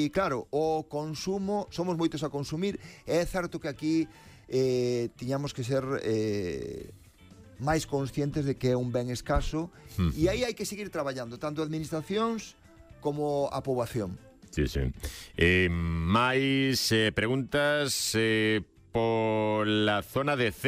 E claro, o consumo, somos moitos a consumir, e é certo que aquí tiñamos que ser máis conscientes de que é un ben escaso, e aí hai que seguir traballando, tanto administracións como a poboación. Sí, sí. Máis preguntas pola zona de C.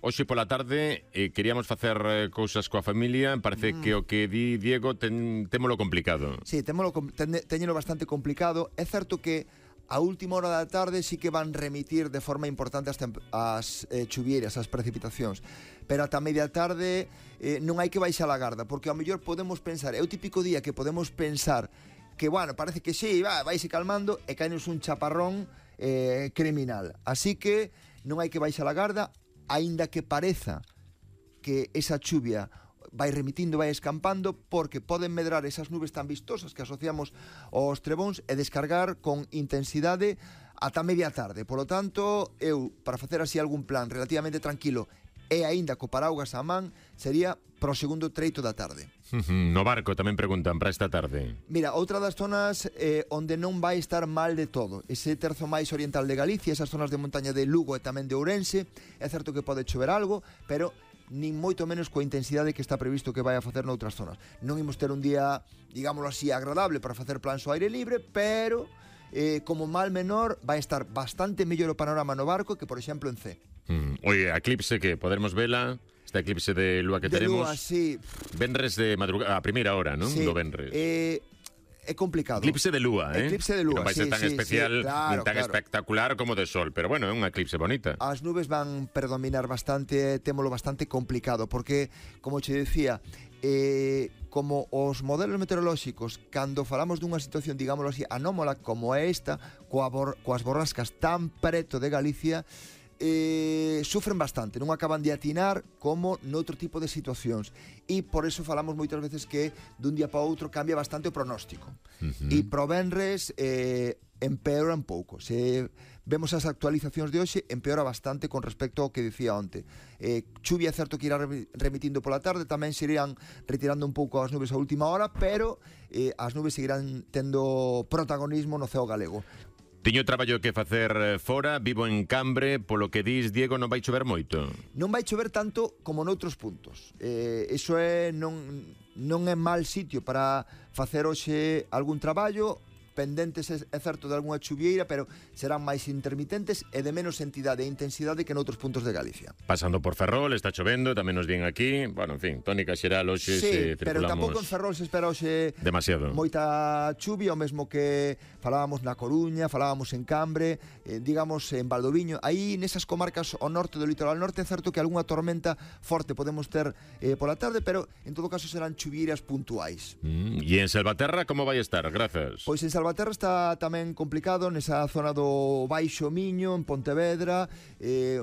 Hoxe pola tarde queríamos facer cousas coa familia. Parece que o que di Diego témolo complicado. Sí, téñelo bastante complicado. É certo que a última hora da tarde sí que van remitir de forma importante as chuvieiras, as precipitacións, pero ata media tarde non hai que baixar a garda, porque ao mellor podemos pensar, é o típico día que podemos pensar que, bueno, parece que sí, vaise calmando, e caenos un chaparrón criminal. Así que non hai que baixar a garda, aínda que pareza que esa chuvia vai remitindo, vai escampando, porque poden medrar esas nubes tan vistosas que asociamos aos trebóns e descargar con intensidade ata media tarde. Por lo tanto, eu, para facer así algún plan relativamente tranquilo e aínda co paraugas á man, sería pro segundo treito da tarde. No barco tamén preguntan para esta tarde. Mira, outra das zonas onde non vai estar mal de todo, ese terzo máis oriental de Galicia, esas zonas de montaña de Lugo e tamén de Ourense. É certo que pode chover algo, pero nin moito menos coa intensidade que está previsto que vai a facer noutras zonas. Non imos ter un día, digámoslo así, agradable para facer plans ao aire libre, pero como mal menor vai estar bastante mellor o panorama no barco que, por exemplo, en C. Oye, a eclipse que poderemos vela, este eclipse de lúa que teremos. De lúa, sí. Venres de madrugada, a primeira hora, non? Sí. Do venres. É complicado. Eclipse de lúa, Eclipse de lúa, non vai ser tan especial, claro, nin tan espectacular como de sol, pero bueno, é unha eclipse bonita. As nubes van predominar bastante, témolo bastante complicado, porque, como che decía, como os modelos meteorolóxicos, cando falamos dunha situación, digámoslo así, anómala como é esta, coas borrascas tan preto de Galicia, sufren bastante, non acaban de atinar como noutro tipo de situacións, e por eso falamos moitas veces que dun día para outro cambia bastante o pronóstico. E pro venres empeora un pouco. Se vemos as actualizacións de hoxe, empeora bastante con respecto ao que dicía onte. Chuvia é certo que irá remitindo pola tarde, tamén se irán retirando un pouco as nubes a última hora, pero as nubes seguirán tendo protagonismo no ceo galego. Tiño traballo que facer fora, vivo en Cambre, polo que dis, Diego, non vai chover moito? Non vai chover tanto como noutros puntos. Iso non é mal sitio para facer hoxe algún traballo, pendentes, é certo, de algunha chuvieira, pero serán máis intermitentes e de menos entidade e intensidade que noutros puntos de Galicia. Pasando por Ferrol, está chovendo, tamén nos viene aquí. Bueno, en fin, tónica xeral hoxe se circulamos. Sí, pero tampouco en Ferrol se espera hoxe demasiado moita chuvia, o mesmo que falábamos na Coruña, falábamos en Cambre, digamos en Valdoviño. Aí nesas comarcas ao norte do litoral norte é certo que algunha tormenta forte podemos ter pola tarde, pero en todo caso serán chuvieiras puntuais. E en Salvaterra como vai estar? Grazas. Pois en Salvaterra está tamén complicado, nesa zona do Baixo Miño, en Pontevedra,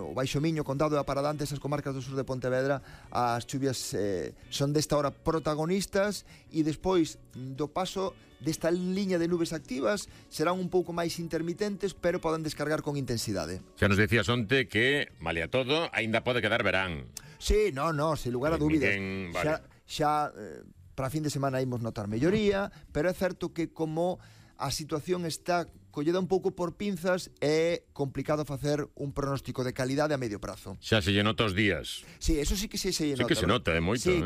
o Baixo Miño, Condado da Paradante, esas comarcas do sur de Pontevedra, as chuvias son desta hora protagonistas, e despois do paso desta liña de nubes activas serán un pouco máis intermitentes, pero poden descargar con intensidade. Xa nos decías onte que, malia todo, aínda pode quedar verán. Sí, no, sen lugar a dúbidas. Vale. Xa para fin de semana imos notar melloría, pero é certo que como a situación está colleda un pouco por pinzas, é complicado facer un pronóstico de calidade a medio prazo. Xa se lle nota os días. Sí, eso sí que se nota. Sí que se nota, é moito, sí,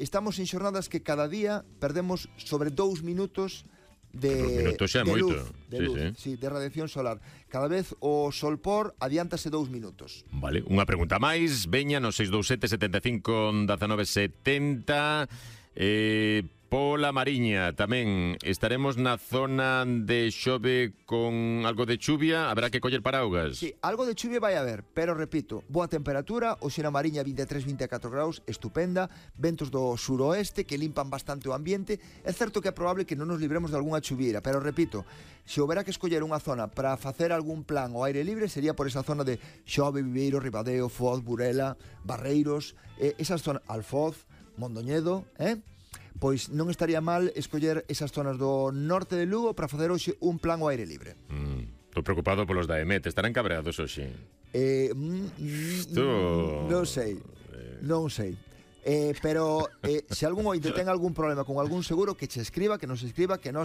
estamos en xornadas que cada día perdemos sobre 2 minutos de luz, sí, de radiación solar. Cada vez o sol por adiántase 2 minutos. Vale, unha pregunta máis, veña no 627 75 19 70. Pola Mariña tamén estaremos na zona de xove con algo de chuvia, haberá que coller paraugas. Sí, algo de chuvia vai haber, pero repito, boa temperatura, hoxe na Mariña 23-24 graus, estupenda, ventos do suroeste que limpan bastante o ambiente. É certo que é probable que non nos libremos de algunha chuviera, pero repito, se houbera que escoller unha zona para facer algún plan ao aire libre, sería por esa zona de Xove, Viveiro, Ribadeo, Foz, Burela, Barreiros, esas zonas, Alfoz, Mondoñedo, pois non estaría mal escoller esas zonas do norte de Lugo para facer hoxe un plan ao aire libre. Estou preocupado polos da EMET, estarán cabreados hoxe? Non sei. Pero se algún ointe ten algún problema con algún seguro, que che escriba, que nos escriba, que nos